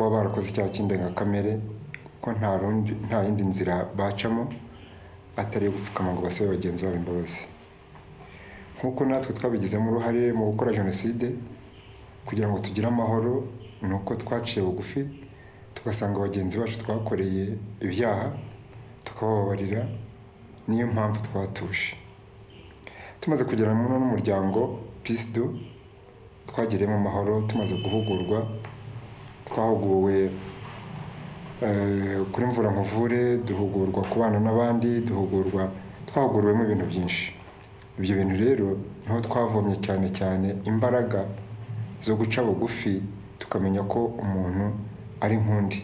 kuba barakoze icyaha cy'indengakamere ko nta yindi nzira bacamo atari gupfukama ngo basabe bagenzi babo imbabazi. Nk'uko natwe twabigizemo uruhare mu gukora jenoside kugira ngo tugire amahoro, nuko twaciye bugufi tugasanga bagenzi bacu twakoreye ibyaha tukababarira, niyo mpamvu twatuje. Tumaze kugera mu n'umuryango Peace Do twagiremo amahoro, tumaze guhugurwa, twahuguwe kuri Mvura Nkuvure, duhugurwa kubana n'abandi, twahuguriwemo ibintu byinshi. Ibyo bintu rero niho twavomye cyane imbaraga zo guca bugufi tukamenya ko umuntu ari nk'undi.